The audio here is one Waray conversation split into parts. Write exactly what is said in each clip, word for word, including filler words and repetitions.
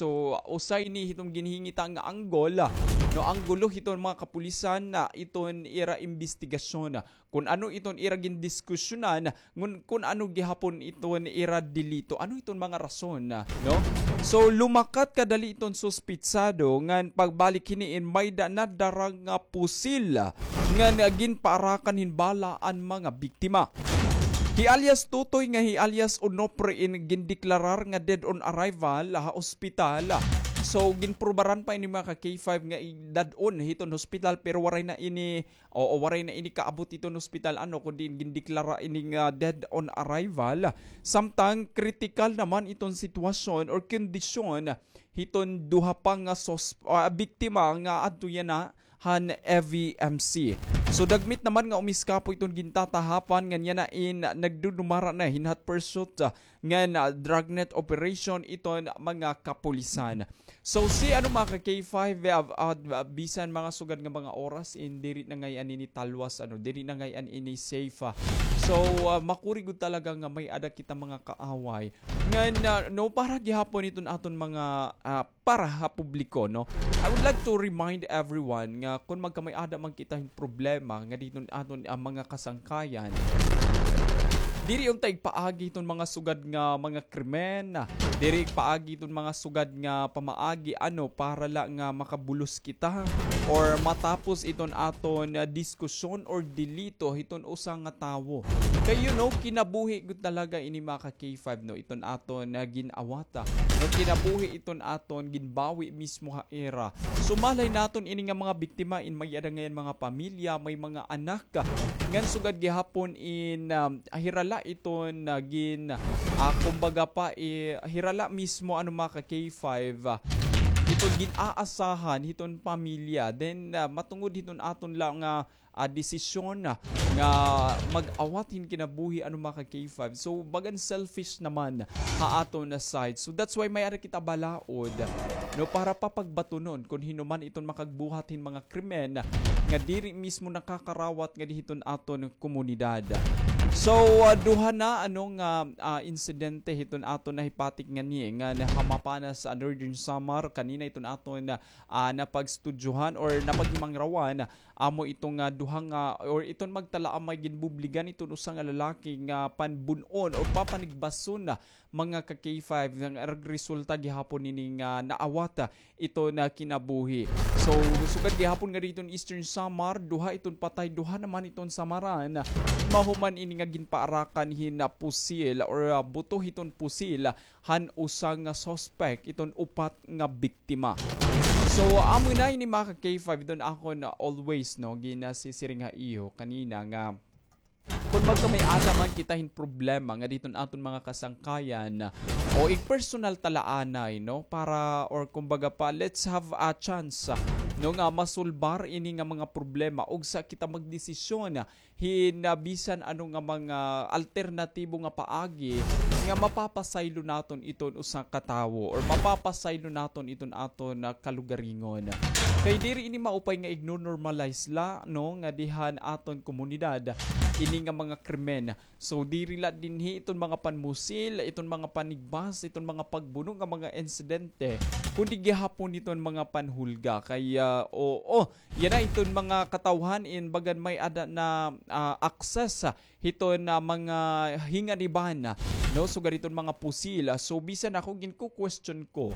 So, usa ini hiton ginhingita nga anggol, no, anggulo hiton mga kapulisan na iton ira imbestigasyon. Kun ano iton ira gindiskusyonan, ngun, kun ano gihapon iton ira delito, ano iton mga rason, no? So, lumakat kadali iton suspitsado ngan pagbalik hini in may da-, nadara nga pusil ngan ginpaarakan hin bala an mga biktima. Hi alias Tutoy nga hi alias Onofre in gindeklarar nga dead on arrival ha ospital. So, ginprubaran pa ini mga ka K five nga idad-on hiton hospital, pero waray na ini Oo, waray na ini kaabot hiton hospital, ano, kundi gindeklara ini nga dead on arrival. Samtang kritikal naman iton sitwasyon or kondisyon hiton duha pa nga sos-, ah, biktima nga adto yana han F E M C. So, dagmit naman nga umiskapo iton gintatahapan ngan yana in nagdudumara na hin hot pursuit, ah, ngan, ah, dragnet operation iton mga kapulisan. So, si, ano, mga ka K five, ah, ah, bisan mga sugad nga mga oras, in diri na ngay-an ini talwas, ano, diri na ngay-an ini safe, ah. So, ah, makuri gud talaga nga may-ada kita mga kaaway. Ngan, ah, no, para gihapon iton aton mga, ah, para ha publiko, no? I would like to remind everyone nga kun magkamay-ada man kita hin problema nga diri iton aton, ah, mga kasangkayan, diri unta igpaagi iton mga sugad nga mga krimen, diri igpaagi iton mga sugad nga pamaagi, ano, para la nga makabulos kita or matapos iton aton, ah, diskusyon or delito hiton usa nga tawo. Kay, you know, kinabuhi gud talaga ini, mga ka K five, no, iton aton, ah, gin-awata, no, kinabuhi iton aton ginbawi mismo ha ira. So, malay naton ini nga mga biktima in may-ada ngay-an mga pamilya, may mga anak, ngan sugad gihapon in, um, hirala iton, ah, gin-, ah, kumbaga pa, eh, hirala mismo, ano, mga ka K five, ah, iton gin-aasahan hiton pamilya. Then, ah, matungod hiton aton la nga, ah, desisyon, ah, nga mag-awat hin kinabuhi, ano, mga ka K five. So, bagan selfish naman ha aton na side. So, that's why may-ada kita balaod, no, para papagbatunon kun hin-o man iton makagbuhat hin mga krimen nga diri mismo nakakarawat ngadi hiton aton komunidad. So, ah, duha na, ano, nga, ah, insidente hiton aton nahipatik ngani nga nahamapanas sa Northern Samar, kanina iton aton, ah, napagstudyohan or napaghimangrawan, amo iton nga duha nga, or iton magtalaamay, ginbubligan iton usa nga lalaki nga panbun-on or papanigbason, mga ka K five, nga nagresulta gihapon ini nga naawat iton kinabuhi. So, sugad gihapon ngadi hiton Eastern Samar, duha iton patay, duha naman iton samaran. Mahuman ini nga ginpaarakan hin pusil or, ah, buto hiton pusil han usa nga suspect iton upat nga biktima. So, amo na ini, mga ka K five, iton akon always, no, ginasisiring ha iyo kanina nga kun magkamay-ada man kita hin problema ngadi hiton aton mga kasangkayan, o igpersonal ta la anay, no, para, or kumbaga pa, let's have a chance, no, nga masulbar ini nga mga problema ugsa kita magdesisyon hin, ah, bisan ano nga mga alternatibo nga paagi nga mapapasaylo naton iton usa ka tawo or mapapasaylo naton iton aton, ah, kalugaringon. Kay diri ini maupay nga igno-normalize la, no, ngadi han aton komunidad ini nga mga krimen. So, diri la dinhi iton mga panmusil, iton mga panigbas, iton mga pagbuno nga mga insidente, kundi gihapon iton mga panhulga. Kay, ah, oo, yana iton mga katawhan in bagan may-ada na, ah, access, ah, hiton, ah, mga hinganiban, ah, no? Sugad hiton mga pusil, ah. So, bisan ako, ginku-question ko,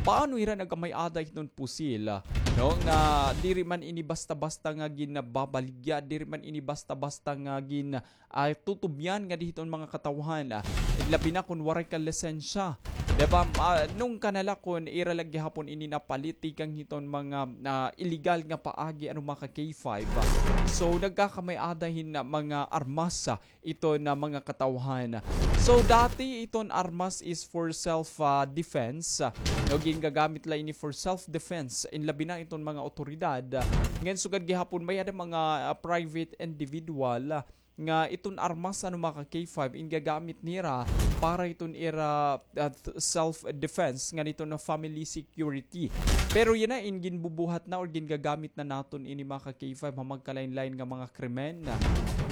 paano hira nagkamay-ada hiton pusil, ah, no? Nga diri man ini basta-basta nga ginababaligya, diri man ini basta-basta nga gin-, ah, tutubyan ngadi hiton mga katawhan, ah, labi na kun waray ka lisensya. Di ba? Ah, nung kanala kun ira la gihapon ini napalit tikang hiton mga, ah, illegal nga paagi, ano, mga ka K five, ah. So, nagkakamay-ada hin, ah, mga armas, ah, iton mga katawhan. So, dati iton armas is for self, ah, defense, ah, no, gingagamit la ini for self defense, in labi na iton mga awtoridad, ah, ngan sugad gihapon may-ada mga, ah, private individual, ah, nga iton armas, ano, mga ka-K five, in gagamit nira para iton ira, ah, th-, self-defense, ngan iton family security. Pero yana in ginbubuhat na or gingagamit na naton ini, mga ka-K five, ha magkalain-lain nga mga krimen,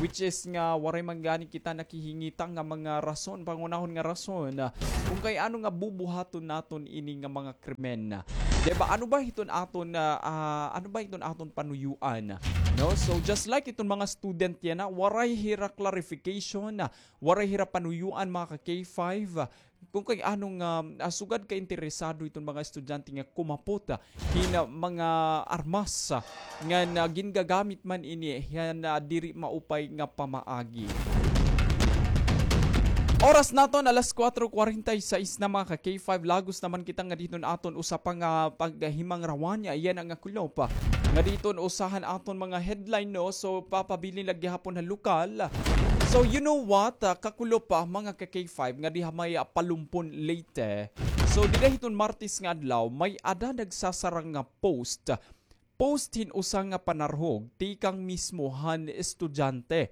which is nga waray man gani kita nakihingita nga mga rason, pangunahon nga rason, kung kay ano nga bubuhaton naton ini nga mga krimen. Di ba? Ano ba hiton aton, ah, ah, ano ba hiton aton panuyuan? No? So, just like iton mga student yana, waray hira clarification, waray hira panuyuan, mga ka-K five, kung kay ano nga, ah, sugad ka interesado iton mga estudyante nga kumapot, ah, hin, ah, mga armas, ah, nga, ah, gingagamit man ini han, ah, diri maupay nga pamaagi. Oras naton, alas kuwatro kwarenta y seis na, mga ka-K five. Lagos naman kita ngadi hiton aton usa pa nga paghimangrawan, yana nga kulop, ah, ngadi hiton usa han aton mga headline, no? So, papabilin la gihapon ha lokal. So, you know what, ah, kakulop, ah, mga ka-K five, ngadi ha may, ah, Palumpon, Leyte. So, dida hiton Martes nga adlaw, may-ada nagsasarang nga post. Post hin usa nga panarhog tikang mismo han estudyante.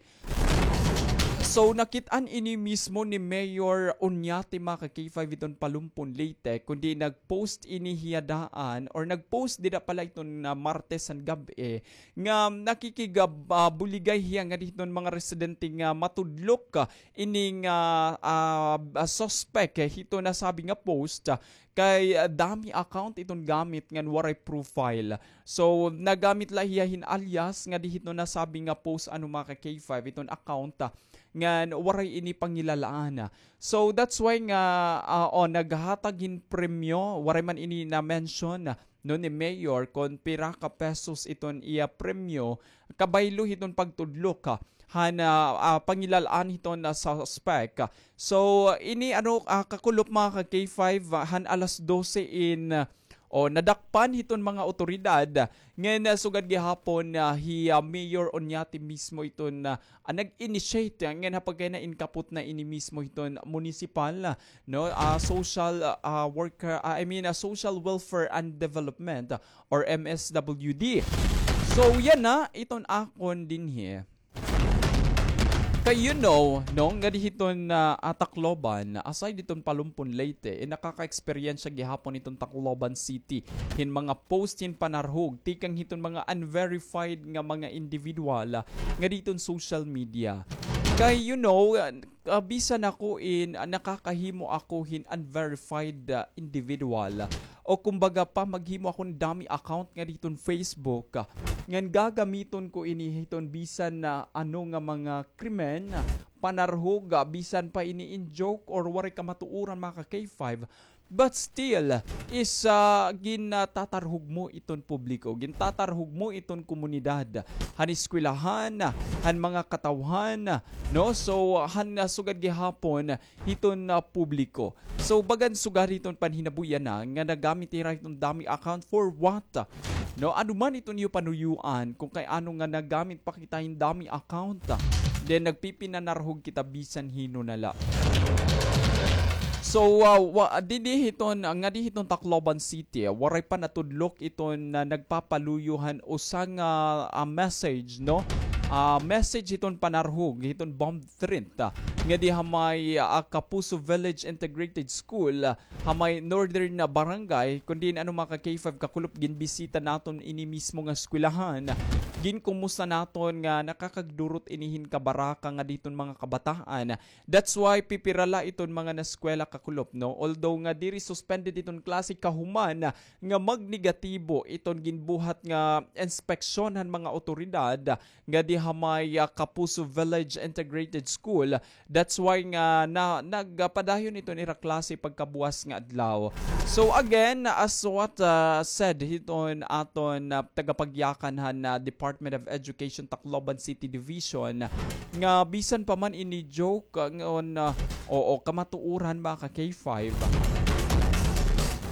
So, nakit-an ini mismo ni Mayor Oñate, mga ka-K five, hiton Palumpon, Leyte, kundi nag-post ini hiya daan, or nag-post dida pala hiton, ah, Martes han gab-i, nga nakikig-, ah, buligay hiya ngadi hiton mga residente nga matudlok, ah, ining, ah, ah, suspect, eh, hiton nasabi nga post, ah, kay, ah, dummy account iton gamit ngan waray profile. So, nagamit la hiya hin alias ngadi hiton nasabi nga post, ano, mga ka-K five, iton account, ah, ngan waray ini pangilalaan. So, that's why nga, ah, oh, naghatag hin premyo, waray man ini na-mention, no, ni Mayor kon pira ka pesos iton iya premyo, kabaylo hiton pagtudlok, ha, han, ah, ah, pangilalaan hiton, ah, suspect. So, ini, ano, ah, kakulop, mga ka-K five, ah, han alas dose in, ah, o, nadakpan hiton mga awtoridad. Ngan, ah, sugad gihapon, ah, hi, ah, Mayor Oñate mismo iton, ah, ah, nag-initiate, ah, ngan ha pagkayana in kapot na ini mismo hiton munisipal, ah, no, ah, social, ah, worker, ah, I mean, ah, Social Welfare and Development, ah, or M S W D. So, yana iton akon dinhi. Kay you know, no, ngadi hiton, ah, ah, Tacloban, aside hiton Palumpon, Leyte, eh, nakaka-eksperyensya gihapon hiton Tacloban City hin mga post hin panarhog tikang hiton mga unverified nga mga individual, ah, ngadi hiton social media. Kay you know, ah, ah, bisan ako in, ah, nakakahimo ako hin unverified, ah, individual, o kumbaga pa, maghimo ako hin dummy account ngadi hiton Facebook, ah, ngan gagamiton ko ini hiton bisan na ano nga mga krimen, ah, panarhog, ah, bisan pa ini in joke or waray kamatuoran, mga ka-K five. But still, is, ah, gintatarhog mo iton publiko, gintatarhog mo iton komunidad, han eskwelahan, han mga katawhan, no? So, han, ah, sugad gihapon, hiton, ah, publiko. So, bagan sugad hiton panhinabuyan na nga nagamit hira hiton dummy account for what? No, ano man iton iyo panuyuan kung kay ano nga nagamit pa kita hin dummy account, then nagpipinanarhog kita bisan hin-o na la. So, ah, wa-, didi hiton, ah, ngadi hiton Tacloban City, ah, waray pa natudlok iton, ah, nagpapaluyo han usa nga, ah, message, no? Ah, message hiton panarhog, hiton bomb threat, ah, ngadi ha may, ah, Kapuso Village Integrated School, ah, ha may Northern na barangay, kundi ano, mga ka-K five, kakulop, ginbisita naton ini mismo nga eskwelahan. Ginkumusta naton nga nakakagdurot ini hin kabaraka ngadi hiton mga kabataan. That's why pipira la iton mga naeskwela, kakulop, no? Although nga diri suspended iton klase kahuman nga magnegatibo iton ginbuhat nga inspeksyon han mga awtoridad ngadi ha may, ah, Kapuso Village Integrated School. That's why nga na, nagpadayon iton ira klase pagkabuwas nga adlaw. So again, as what, ah, said hiton aton, ah, tagapagyakan han, ah, Department of Education Tacloban City Division, nga bisan pa man ini joke, ah, ngon, ah, oo, kamatuoran, mga ka-K five.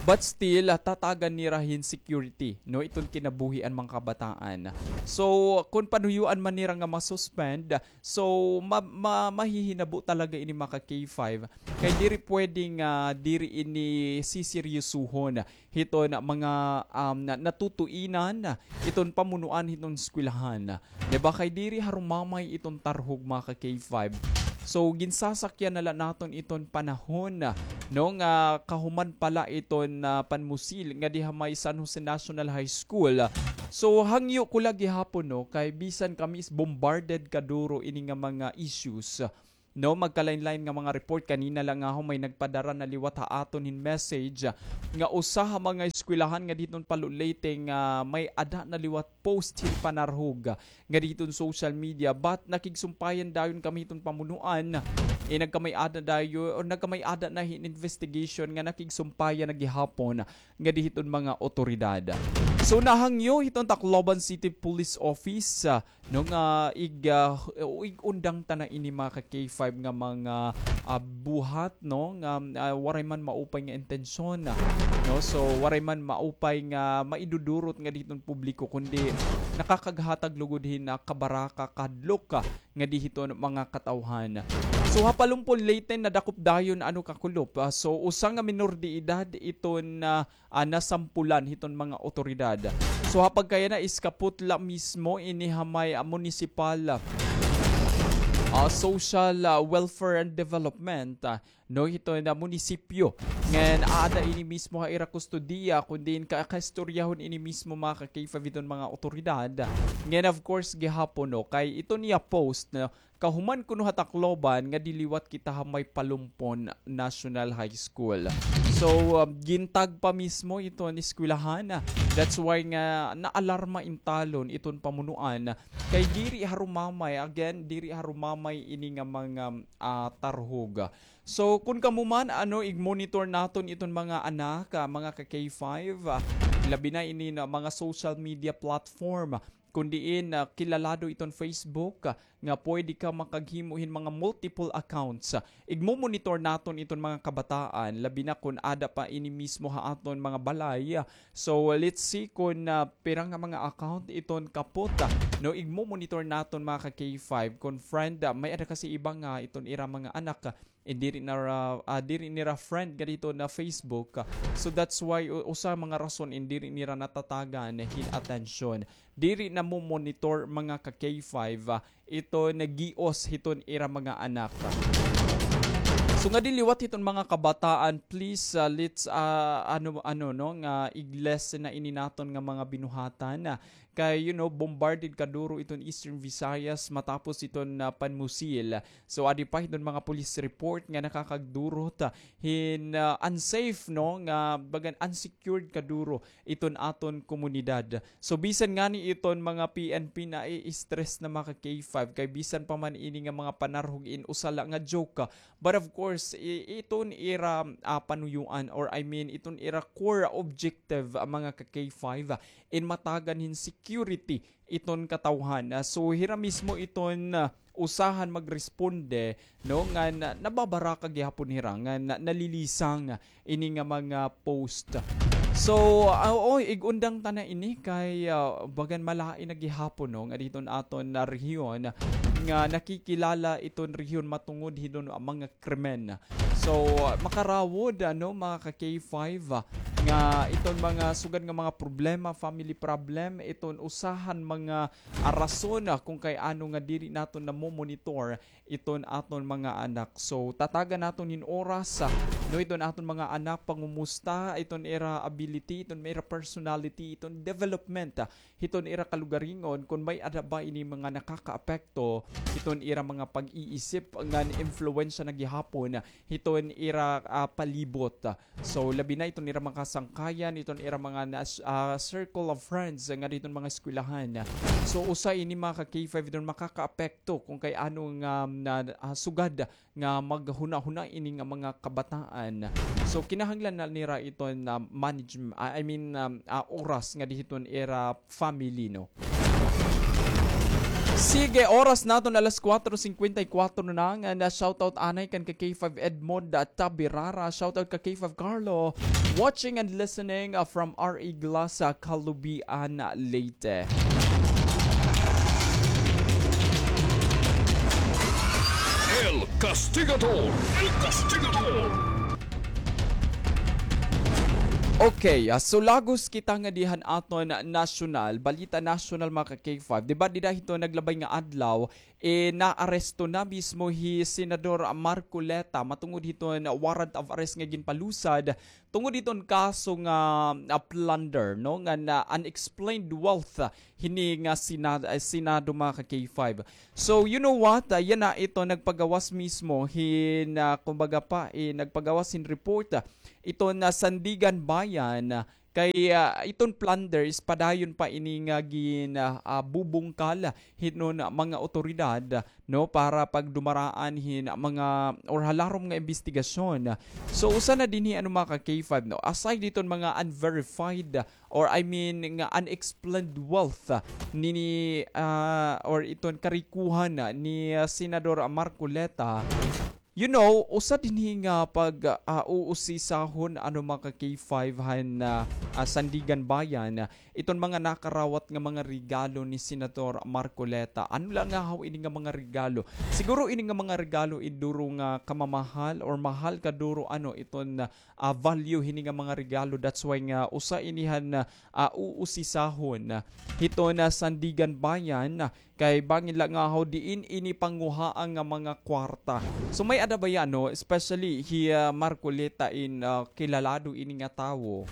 But still, ah, tatagan nira hin security, no, iton kinabuhi an mga kabataan. So, kun panuyuan man nira nga ma-suspend, so, ma-, ma-, mahihinabo talaga ini, mga ka-K five. Kay diri pwede nga diri ini siseryosohon hiton mga, um, na-, natutuinan, iton pamunuan hiton eskwelahan. Di ba, kay diri harumamay iton tarhog, mga ka-K five. So, ginsasakyan na la naton iton panahon, no, nga kahuman pa la iton, ah, panmusil ngadi ha may San Jose National High School. So, hangyo ko la gihapon, no, kay bisan kami is bombarded kaduro ini nga mga issues, no, magkalain-lain nga mga report. Kanina la ngahon may nagpadara na liwat ha aton hin message, ah, nga usa ha mga eskwelahan ngadi hiton Palo, Leyte nga may-ada na liwat post hin panarhog, ah, ngadi hiton social media. But nakigsumpayan dayon kami hiton pamunuan, eh, nagkamay-ada dayon, or nagkamay-ada na hin investigation nga nakigsumpayan na gihapon ngadi hiton mga awtoridad. So, nahangyo hiton Tacloban City Police Office, ah, no, nga ig-, ah, ig-undang ta na ini, mga ka-K five, nga mga, ah, buhat, no, nga, ah, waray man maupay nga intensyon, no? So, waray man maupay nga maidudurot ngadi hiton publiko, kundi nakakaghatag lugod hin, ah, kabaraka, kahadlok, ah, ngadi hiton mga katawhan. So, ha Palompon, Leyte, nadakop dayon, ano, kakulop. Ah, so, usa nga minor de edad iton, ah, ah, nasampulan hiton mga awtoridad. So, ha pagkayana is kaputla mismo ini ha may, ah, munisipal, ah, social, ah, welfare and development, ah, no, hiton munisipyo. Ngan aada ini mismo ha ira kustodiya, kun diin ka-, kaistoryahon ini mismo, mga ka-K five, hiton mga awtoridad. Ngan, of course, gihapon, no, kay iton iya post, no, kahuman kuno ha Tacloban ngadi liwat kita ha may Palompon National High School. So, um, gintag pa mismo iton eskwelahan. That's why nga naalarma intalon iton pamunuan. Kay diri harumamay, again, diri harumamay ini nga mga, ah, tarhog. So, kun kamo man, ano, ig-monitor naton iton mga anak, ah, mga ka-K five, ah, labi na ini na mga social media platform, kun diin, ah, kilalado iton Facebook, ah, nga pwede ka makaghimo hin mga multiple accounts. Igmo-monitor naton iton mga kabataan, labi na kun ada pa ini mismo ha aton mga balay. So, let's see kun, ah, pira nga mga account iton kapot, ah, no, igmo-monitor naton, mga ka-K five, kun friend, ah, may-ada kasi iba nga iton ira mga anak, ah, eh, diri nira, ah, diri nira friend ngadi hiton Facebook. So that's why u-, usa mga rason in diri nira natatagan hin atensyon. Diri namo-monitor, mga ka-K five, ah, iton gios hiton ira mga anak. So ngadi liwat hiton mga kabataan, please, ah, let's, ah, ano, ano, no, nga ig-lessen na ini naton nga mga binuhatan, ah, Kay, you know, bombarded kaduro iton Eastern Visayas matapos iton, ah, panmusil. So, adi pa hiton mga police report nga nakakagdurot, ah, hin, ah, unsafe, no, nga bagan unsecured kaduro iton aton komunidad. So, bisan ngani iton mga P N P nai-stress na, mga ka-K five, kay bisan pa man ini nga mga panarhog in usa la nga joke, ah, but of course, i-, iton ira, ah, panuyuan, or I mean, iton ira core objective, ah, mga ka-K five, ah, in matagan hin security iton katawhan. Ah, so, hira mismo iton, ah, usahan magresponde, no, nga na-, nababaraka gihapon hira, nga na-, nalilisang ini nga mga post. So, ah, oo, ig-undang ta na ini kay, ah, bagan malain na gihapon, no, nga diton aton na rehiyon nga nakikilala iton rehiyon matungod hiton mga krimen. So, makarawod, ano, mga ka-K five, ah, nga iton mga sugad nga mga problema, family problem, iton usahan mga, ah, rason, ah, kung kay ano nga diri naton namo-monitor iton aton mga anak. So, tatagan naton hin oras, ah, no, iton aton mga anak, pangumusta, iton ira ability, iton ira personality, iton development, ah, hiton ira kalugaringon, kun may-ada ba ini mga nakakaapekto hiton ira mga pag-iisip ngan impluwensya na gihapon hiton ira, ah, palibot. So, labi na iton ira mga kasangkayan, iton ira mga nas-, ah, circle of friends nga diton mga eskwelahan. So, usa ini, mga ka-K five, iton makakaapekto kung kay ano nga, na, ah, sugad nga maghunahuna ini nga mga kabataan. So, kinahanglan na nira iton na manage-, ah, I mean, um, ah, oras nga dihiton ira family, no? Sige, oras naton alas kuwatro singkwenta y kuwatro na. Nga na shoutout anay kan ka K five Edmond, ah, Tabirara, shoutout ka K five Carlo, watching and listening, ah, from R E Glass, ah, Calubian, Leyte. El Castigador. El Castigador. Okay, ah, so lagos kita ngadi han aton nasyonal, balita nasyonal, mga ka K five. Di ba, dida hiton naglabay nga adlaw, eh, naaresto na mismo hi Senador Marcoleta matungod hiton warrant of arrest nga ginpalusad tungod hiton kaso nga, ah, plunder, no, nga na unexplained wealth, ah, hini nga Sena-, ah, Senado, mga ka K five. So, you know what? Ah, yana ito nagpagawas mismo hin, ah, kumbaga pa, eh, nagpagawas hin report, ah, iton Sandiganbayan, ah, kay, ah, iton plunder is padayon pa ini nga gin, ah, ah, bubungkal hiton mga otoridad, no, para pagdumaraan hin mga or ha larom nga imbestigasyon. So, usa na dinhi, ano, mga ka K five, no, aside hiton mga unverified or, I mean, nga unexplained wealth, ah, ni, ni, ah, or iton karikohan, ah, ni, ah, Senador Marcoleta. You know, usa dinhi nga pag, ah, uusisahon, ano, mga ka K five, han, ah, ah, Sandiganbayan, ah, iton mga nakarawat nga mga regalo ni Senator Marcoleta. Ano la ngahaw ini nga mga regalo? Siguro ini nga mga regalo, eh, duro nga kamamahal or mahal kaduro, ano, iton, ah, ah, value hini nga mga regalo. That's why nga usa ini han, ah, uusisahon hiton Sandiganbayan, ah, kay bangin la ngahaw diin ini panguhaa nga mga kwarta. So, may-ada baya, no, especially hi, ah, Marcoleta in, ah, kilalado ini nga tawo.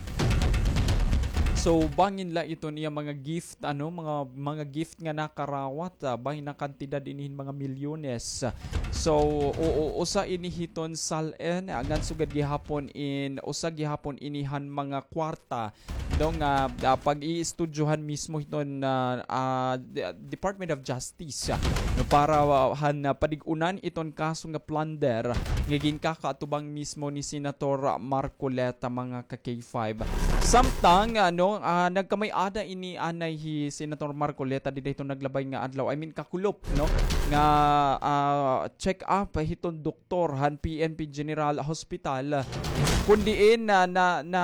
So, bangin la iton iya mga gift, ano, mga, mga gift nga nakarawat, ah, bangin nga kantidad ini hin mga milyones. So, oo, usa ini hiton SALN, ah, ngan sugad gihapon in, usa gihapon ini han mga kwarta, no, nga, ah, pag-iistudyohan mismo hiton, ah, ah, de-, Department of Justice, ah, no, para, ah, han, ah, padig-unan iton kaso nga plunder nga ginkakaatubang mismo ni Senator Marcoleta, mga ka K five. Samtang, ano, ah, nagkamay-ada ini anay hi Senator Marcoleta dida hiton naglabay nga adlaw, I mean, kakulop, no, nga, ah, check up hiton doktor han P N P General Hospital, kun diin na, na, na,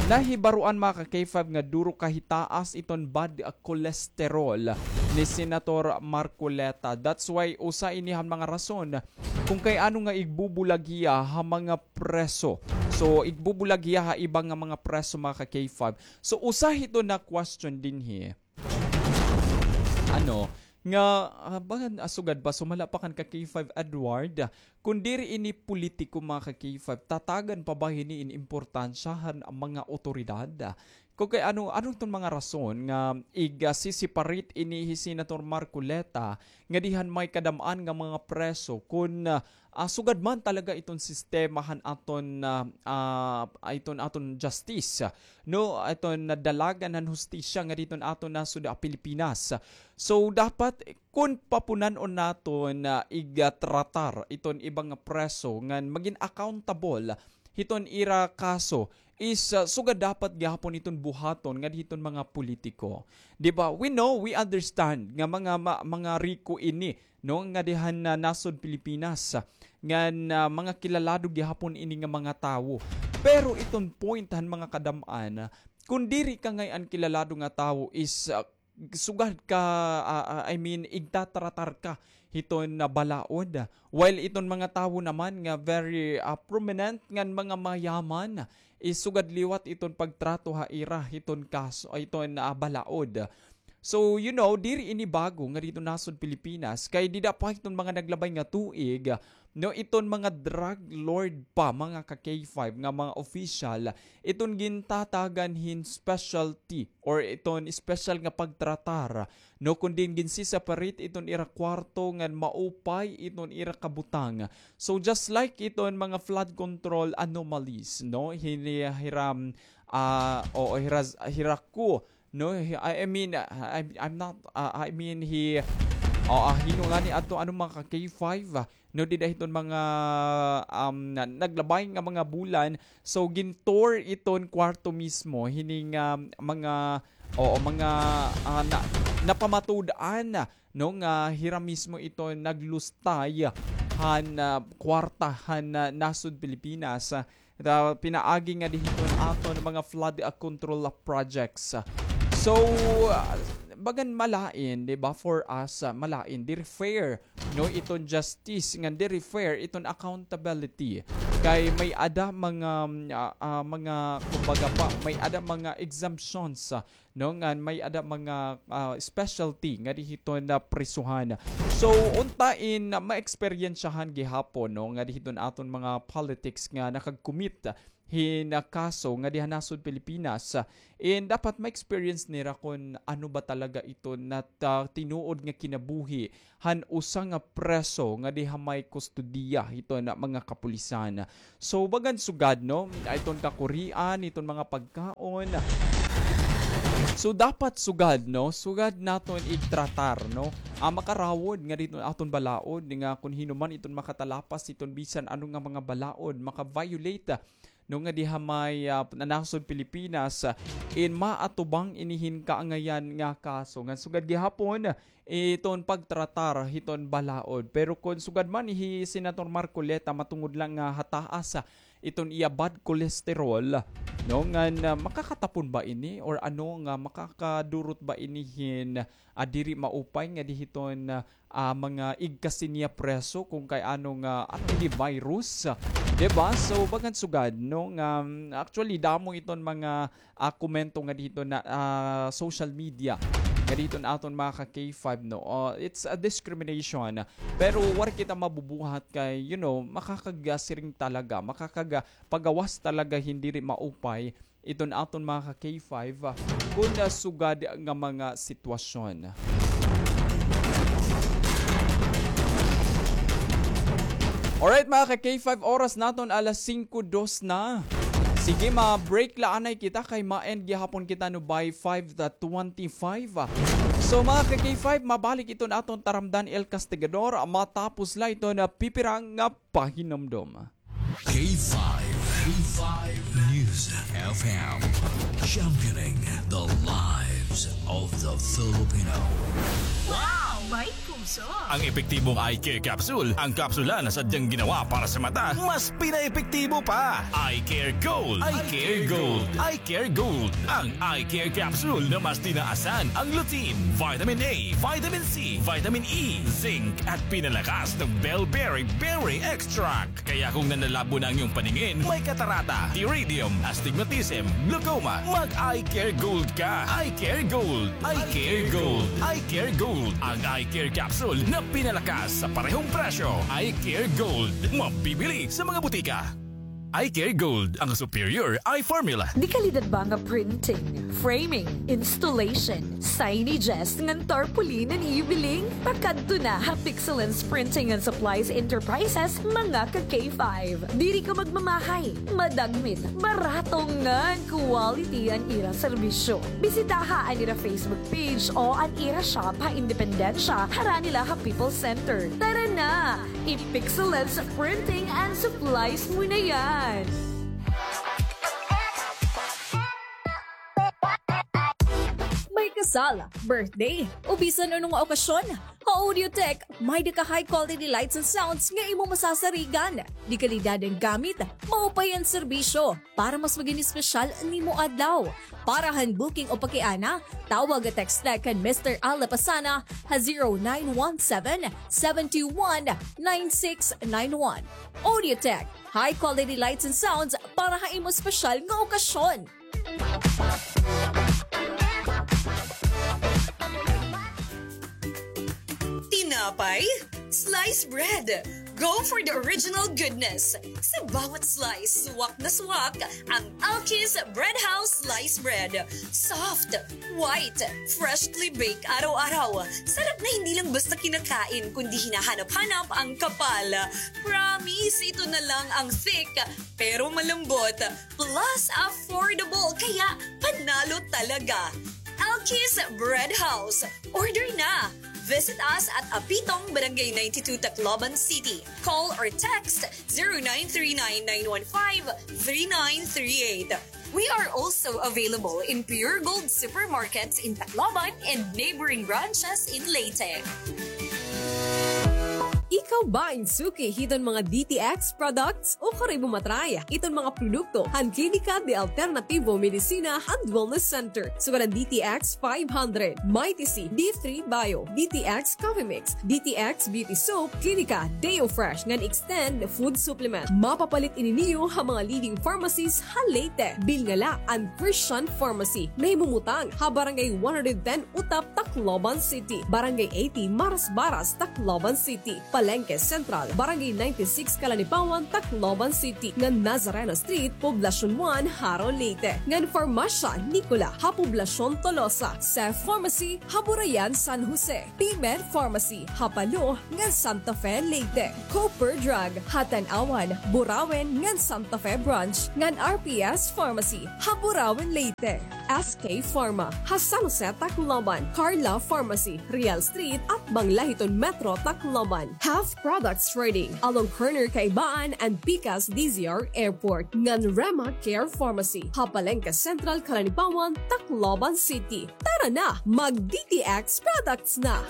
nahibaroan, mga ka K five, nga duro kahitaas iton bad cholesterol ni Senator Marcoleta. That's why usa ini han mga rason kung kay ano nga igbubulag hiya ha mga preso. So, igbubulag hiya ha iba nga mga preso, mga ka K five. So, usa hiton na question dinhi. Ano, nga, ah, bagan, ah, sugad pa, sumala pa kan ka K five Edward, ah, kun diri ini politiko, mga ka K five, tatagan pa ba hini in importansya han mga otoridad? Ah, kun kay ano, ano iton mga rason nga ig, ah, si-separate ini hi Senator Marcoleta ngadi han may kadam-an nga mga preso kun, ah, ah, sugad man talaga iton sistema han aton, ah, ah, iton aton justice, no, iton dalagan han hustisya ngadi hiton aton nasod, ah, Pilipinas. So, dapat kun papunan-on naton, ah, igatratar iton iba nga preso ngan magin accountable hiton ira kaso is, ah, sugad dapat gihapon iton buhaton ngadi hiton mga politiko. Di ba? We know, we understand nga mga, ma-, mga riko ini, no, ngadi han, ah, nasod Pilipinas, ah, ngan, ah, mga kilalado gihapon ini nga mga tawo. Pero iton point han mga kadam-an, ah, kun diri ka ngay-an kilalado nga tawo is, ah, sugad ka, ah, ah, I mean, igtatratar ka hiton, ah, balaod. While iton mga tawo naman nga very, ah, prominent ngan mga mayaman, is sugad liwat iton pagtrato ha ira hiton kaso, iton, ah, balaod. So, you know, diri ini bago ngadi hiton nasod Pilipinas, kay dida pa hiton mga naglabay nga tuig, no, iton mga drug lord pa, mga ka K five, nga mga official, iton gintatagan hin specialty or iton special nga pagtratar, no, kun diin ginsi-separate iton ira kwarto ngan maupay iton ira kabutang. So, just like iton mga flood control anomalies, no, hini-, hiram, ah, o hiras-, hiraku, no, hi-, I, I mean, ah, I, I'm not, ah, I mean, hi-, o, ah, hino ngani ato, ano, mga ka K five, ah, no, dida hiton mga, um, na, naglabay nga mga bulan. So, gin-tour iton kwarto mismo, hining, um, mga, oo, mga, ah, na, napamatud-an, no, nga hira mismo ito naglustay han, ah, kwarta han, ah, nasod Pilipinas. Ah, pinaagi nga di hiton aton mga flood, ah, control, ah, projects. So, ah, bagan malain, di ba, for us, ah, malain, diri fair, no, iton justice, ngan diri fair iton accountability. Kay may-ada mga, ah, ah, mga, kumbaga pa, may-ada mga exemptions, ah, no, ngan may-ada mga, ah, specialty nga di hiton, ah, prisuhan. So, unta in, ah, maeksperiensyahan gihapon, no, nga di hiton aton mga politics nga nakag-commit hin, ah, kaso nga di ha nasod Pilipinas. And dapat ma-experience nira kon ano ba talaga ito na, ah, tinuod nga kinabuhi han usa nga preso nga di ha may kustodiya hiton mga kapulisan. So, bagan sugad, no? Iton kakurian, iton mga pagkaon. So, dapat sugad, no? Sugad naton igtratar, no? Ah, makarawod nga di hiton aton balaod, nga kon hin-o man iton makatalapas hiton bisan ano nga mga balaod, maka-violate, no, nga di ha may, ah, nasod Pilipinas, ah, in maatubang ini hin kaangayan nga kaso. Ngan sugad gihapon, iton pagtratar hiton balaod. Pero kon sugad man hi Senator Marcoleta matungod lang nga ha taas, ah, iton iya bad cholesterol, no, ngan, ah, makakatapon ba ini or ano nga makakadurot ba ini hin, ah, diri maupay nga di hiton, ah, ah, mga igkasi niya preso kung kay ano nga, ano ini virus, di ba? So, bagan sugad, no, nga, mm, actually, damo iton mga, ah, komento nga di hiton na, ah, social media, nga di hiton aton mga ka-K five, no? Oh, it's a discrimination. Pero waray kita mabubuhat kay, you know, makakagasiring talaga, makakaga-, pagawas talaga hin diri maupay iton aton mga ka-K five, ah, kon, ah, sugad nga mga sitwasyon. Alright, mga ka-K five, oras naton alas singko dos na. Sige, ma-break la anay kita kay ma-end gihapon kita, no, by five twenty-five. So, mga ka-K five, mabalik iton aton taramdan El Castigador matapos la iton pipira nga pahinumdom. K five, K five News F M, championing the lives of the Filipino. Wow! May puso! Ang epektibong eye care capsule, ang kapsula na sadyang ginawa para sa mata, mas pinaepektibo pa. Eye Care Gold. Eye Care Gold. Eye Care Gold. Ang Eye Care Capsule na mas tinaasan ang lutein, vitamin A, vitamin C, vitamin E, zinc, at pinalakas ng bell berry berry extract. Kaya kung nanlalabo na ang iyong paningin, may katarata, pterygium, astigmatism, glaucoma, mag-Eye Care Gold ka. Eye Care Gold. Eye Care Gold. Eye Care Gold. Ang Eye Care Capsule na pinalakas sa parehong presyo. Eye Care Gold. Mabibili sa mga butika. Eye Care Gold, ang superior eye formula. Dekalidad ba nga printing, framing, installation, signages, ngan tarpaulin an iyo biling? Pakadto na ha Pixelens Printing and Supplies Enterprises, mga ka-K five. Diri ka magmamahay, madagmit, barato ngan quality an ira serbisyo. Bisitaha an ira Facebook page o an ira shop ha Independencia, harani la ha People's Center. Tara na! I-Pixelens Printing and Supplies mo na yan! May kasal, birthday, o bisan ano nga okasyon, ha Audiotech, may-ada ka high quality lights and sounds nga imo masasarigan. Dekalidad an gamit, maupay an serbisyo. Para mas magin espesyal an imo adlaw. Para han booking o pakiana, tawag o text la kan Mister Al Lapasana ha zero nine one seven, seven two one, nine six nine one. Audiotech, high quality lights and sounds para ha imo espesyal nga okasyon. Tinapay, slice bread. Go for the original goodness. Sa bawat slice, swak na swak ang Alki's Bread House Slice Bread. Soft, white, freshly baked araw-araw. Sarap na hindi lang basta kinakain, kundi hinahanap-hanap ang kapal. Promise, ito na lang ang thick, pero malambot. Plus, affordable, kaya panalo talaga. Alki's Bread House. Order na! Visit us at Apitong, Barangay ninety-two, Tacloban City. Call or text zero nine three nine nine one five three nine three eight. We are also available in Pure Gold supermarkets in Tacloban and neighboring branches in Leyte. Ikaw ba in suki hiton mga D T X products? O kari mo matry iton mga produkto han Klinika de Alternativo Medicina and Wellness Center. Sugad an D T X five hundred, Mighty C, D three Bio, D T X Coffee Mix, D T X Beauty Soap, Klinika Deo Fresh ngan Extend Food Supplement. Mapapalit ini niyo ha mga leading pharmacies ha Leyte. Bilngala an Christian Pharmacy, nahimumutang ha Barangay one hundred ten Utap, Tacloban City, Barangay eighty Marasbaras, Tacloban City, Palengke Central, Barangay ninety-six Kalanipawan, Tacloban City, ngan Nazareno Street, Poblacion one, Jaro, Leyte, ngan Farmacia Nicola ha Poblacion Tolosa, Seth Pharmacy ha Burayan, San Jose, Pimer Pharmacy ha Palo ngan Santa Fe, Leyte, Cooper Drug ha Tanauan, Burauen ngan Santa Fe Branch, ngan R P S Pharmacy ha Burauen, Leyte. S K Pharma ha San Jose, Tacloban, Carla Pharmacy, Real Street, atbang la hiton Metro Tacloban, Half Products Trading, along corner Kaibaan and Pikas D Z R Airport, ngan Rema Care Pharmacy ha Palengke Central, Kalanipawan, Tacloban City. Tara na, mag D T X products na!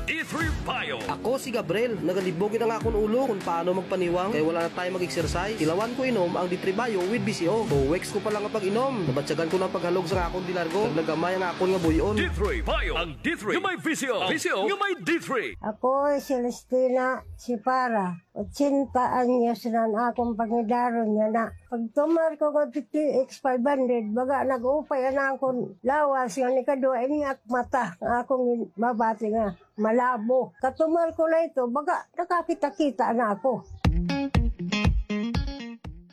D three Bio. Ako si Gabriel. Nagalibog gid an akon ulo kon paano magpaniwang kay wala na tayo mag-exercise. Tilawan ko inom ang D three Bio with V C O. Two weeks ko pa la nga pag-inom, nabatyagan ko na an paghalog sa akon dilargo. Nagnagamay an akon nga buy-on. D three Bio. Ang D three nga may V C O. V C O nga may D three. Ako si Celestina Sipara. Ochenta anyos na an akon pangidaron yana. Pagtumar ko nga D T X five hundred, baga nag-upay an akon lawas nga nikaduha, ini ak mata nga akon mabati nga malabo. Katumar ko na ito, baga nakakita-kita na ako.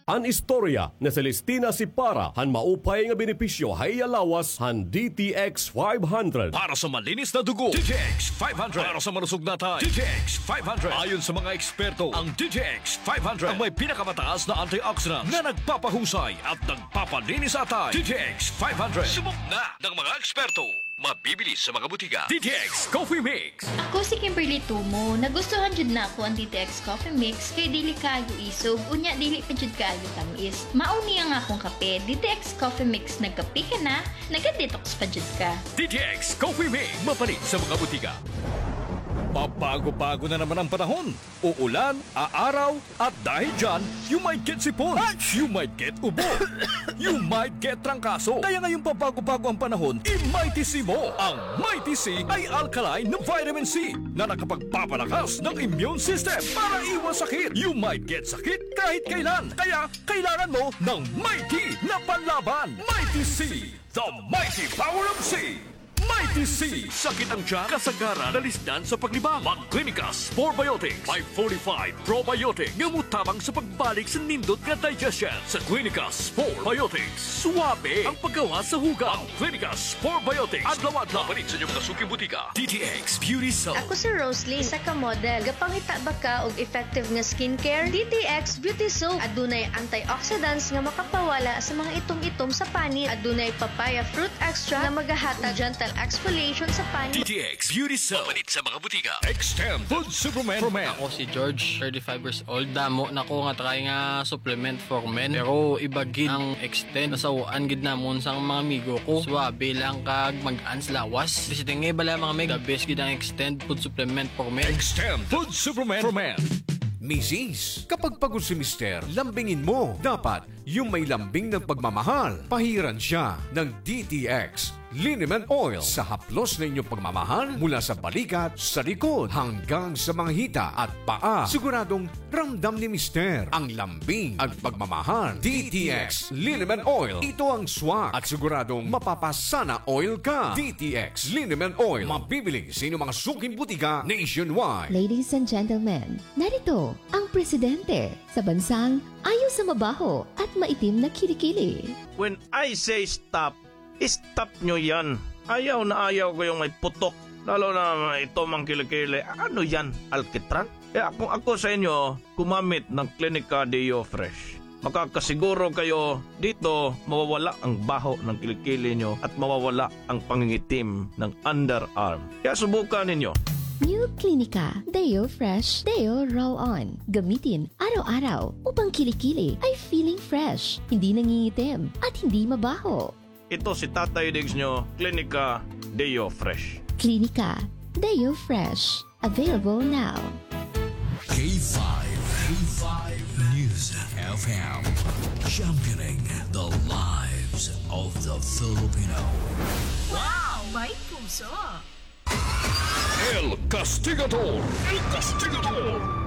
An istorya ni Celestina Sipara han maupay nga benepisyo ha iya lawas han D T X five hundred. Para sa malinis na dugo, D T X five hundred. Para sa malusog na atay, D T X five hundred. Ayon sa mga eksperto, ang D T X five hundred ang may pinakamataas na antioxidant na nagpapahusay at nagpapalinis sa atay. D T X five hundred. Subok na ng mga eksperto. Mabibili sa mga butika. D T X Coffee Mix. Ako si Kimberly Tumo. Nagustuhan jud nako an D T X Coffee Mix kay dili kaayo isog, unya dili pa jud kaayo tam-is. Mao ni ang akong kape, D T X Coffee Mix. Nagkape ka na, naga-detox pa jud ka. D T X Coffee Mix, mapalit sa mga butika. Pabago-bago na naman ang panahon. Uulan, aaraw, at dahil dyan, you might get sipon, you might get ubo, you might get trangkaso. Kaya ngayong pabago-bago ang panahon, i-Mighty C mo. Ang Mighty C ay alkaline na vitamin C na nakapagpapalakas ng immune system para iwas sakit. You might get sakit kahit kailan. Kaya kailangan mo ng Mighty na panlaban. Mighty C, the mighty power of C. Mighty C. Sakit ang tiyan, kasagaran, dalisdan sa paglibang. Mag Clinicas Four Biotics. May forty-five probiotic nga motabang sa pagbalik sa nindot nga digestion. Sa Clinicas Four Biotics, suwabe ang paggawas sa hugaw. Ang Clinicas Four Biotics. Adlaw-adlaw. Mapalit sa inyong mga suking butika. D T X Beauty Soap. Ako si Roslyn, isa ka model. Gapangita ba ka og effective nga skincare? D T X Beauty Soap. Adunay antioxidants nga makapawala sa mga itom-itom sa panit. Adunay papaya fruit extract nga magahatag gentle exfoliation sa panit. D T X Beauty Soap. Mapalit sa mga butika. Extend Food Supplement for Men. Ako si George, thirty-five years old. Damo na ko nga try nga supplement for men. Pero iba gid ang Extend. Nasaw-an gid namon sang mga amigo ko. Suwabe lang kag mag-an sa lawas. Basta nga bala, mga meg, the best gid ang Extend Food Supplement for Men. Extend Food Supplement for Men. Misis, kapag pagod si Mister, lambingin mo. Dapat yung may lambing ng pagmamahal. Pahiran siya ng D T X Liniment Oil sa haplos na inyong pagmamahal, mula sa balikat, sa likod, hanggang sa mga hita at paa. Siguradong ramdam ni Mister ang lambing at pagmamahal. D T X Liniment Oil. Ito ang swak at siguradong mapapasana oil ka. D T X Liniment Oil. Mabibili sa inyong mga suking butika nationwide. Ladies and gentlemen, narito ang presidente sa bansang ayaw sa mabaho at maitim na kilikili. When I say stop, stop nyo yan. Ayaw na ayaw ko yung may putok. Lalo na may itom ang kilikili. Ano yan? Alkitran? Kaya kung ako sa inyo, gumamit ng Clinica Deo Fresh. makakasiguro kayo dito mawawala ang baho ng kilikili nyo at mawawala ang pangingitim ng underarm. Kaya subukan ninyo. New Clinica Deo Fresh Deo Roll-On. Gamitin araw-araw upang kilikili ay feeling fresh, hindi nangingitim, at hindi mabaho. Ito si Tatay Diggs nyo, Klinika Deo Fresh. Klinika Deo Fresh. Available now. K five, K five News F M. Championing the lives of the Filipino. Wow! May puso! El Castigador! El Castigador!